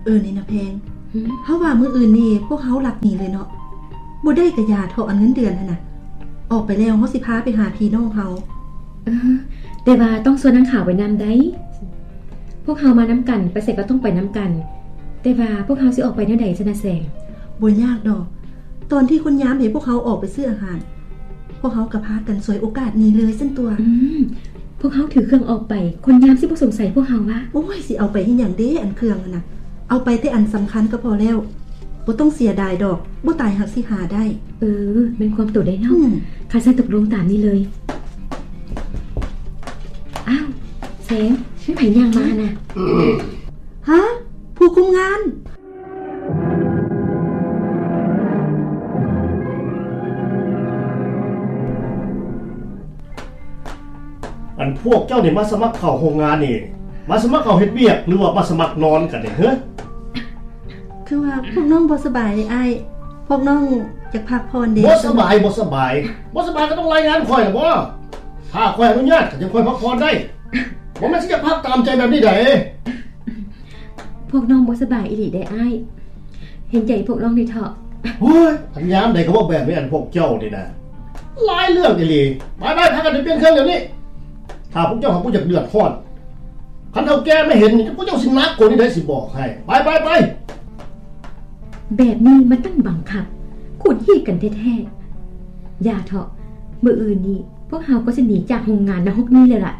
ເອີ ນີ້ນະແພງ ຫືມ? ເຮົາວ່າມື້ອື່ນນີ້ພວກເຮົາລັກໜີເລີຍເນາະ. ບໍ່ໄດ້ກະຢ່າເທາະ ອັນເງິນເດືອນຫັ້ນນະ. ອອກໄປແລ້ວເຮົາຊິພາໄປຫາພີ່ນ້ອງເຮົາ. ເອີ ແຕ່ວ່າຕ້ອງຊວນນາງຂາວໄປນຳໄດ໋. ພວກເຮົາມານຳກັນ ໄປໃສກໍຕ້ອງໄປນຳກັນ. ແຕ່ວ່າພວກເຮົາຊິອອກໄປແນວໃດຊັ້ນນະແສງ? ບໍ່ຍາກດອກ. ຕອນທີ່ຄົນຍາມໃຫ້ພວກເຮົາອອກໄປຊື້ອາຫານ ພວກເຮົາກໍພາກັນສວຍໂອກາດນີ້ເລີຍຊັ້ນຕົວະ. ອືມ ພວກເຮົາຖືເຄື່ອງອອກໄປ ຄົນຍາມຊິບໍ່ສົງໄສພວກເຮົາວະ? ໂອ້ຍ ຊິເອົາໄປເຮັດຫຍັງເດ ອັນເຄື່ອງຫັ້ນນະ? ເອົາໄປແຕ່ອັນສຳຄັນກໍພໍແລ້ວ. ບໍ່ຕ້ອງເສຍດາຍດອກ ບໍ່ຕາຍຫາກຊິຫາໄດ້. ເອີ ແມ່ນຄວາມໂຕໄດ໋ເນາະ. ອືມ ຄັນຊັ້ນຕົກລົງຕາມນີ້ເລີຍ. ອ້າວ ແສງ ແມ່ນໃຜຍ່າງມາຫັ້ນນະ? ຮະ? ຜູ້ຄຸມງານ? ອັນພວກເຈົ້ານີ້ມາສະໝັກເຂົ້າໂຮງງານນີ້ ມາສະໝັກເຂົ້າເຮັດວຽກ ຫຼືວ່າມາສະໝັກນອນກັນນີ້ ເຮີ? ຄືວ່າພວກນ້ອງບໍ່ສະບາຍເດອ້າຍ ພວກນ້ອງຢາກພັກຜ່ອນເດ. ບໍ່ສະບາຍ ບໍ່ສະບາຍ ບໍ່ສະບາຍກໍຕ້ອງລາຍງານຂ້ອຍລະບໍ? ຖ້າຂ້ອຍອະນຸຍາດ ຂ້ອຍຈຶ່ງຄ່ອຍພັກຜ່ອນໄດ້. ບໍ່ແມ່ນຊິຢາກພັກຕາມໃຈແບບນີ້ໃດ. ພວກນ້ອງບໍ່ສະບາຍອີ່ຫຼີເດອ້າຍ ເຫັນໃຈພວກນ້ອງແດ່ເທາະ. ໂອ້ຍ ອັນຍາມໃດກໍເວົ້າແບບນີ້ ອັນພວກເຈົ້ານີ້ນະ ຫຼາຍເລື່ອງອີ່ຫຼີ. ໄປໆ ພາກັນໄປປ່ຽນເຄື່ອງດຽວນີ້. ຖ້າພວກເຈົ້າຫາກບໍ່ຢາກເດືອດຮ້ອນ ຄັນເຖົ້າແກ່ມາເຫັນນີ້ ພວກເຈົ້າຊິໜັກກວ່ານີ້ໄດ໋ ຊິບອກໃຫ້. ໄປໆໆ. ແບບນີ້ມັນຕັ້ງບັງຄັບ ຂູດຮີດກັນແທ້ໆ. ຢ່າເທາະ ມື້ອື່ນນີ້ພວກເຮົາກໍຊິໜີຈາກໂຮງງານນະຮົກນີ້ເລີຍລະ.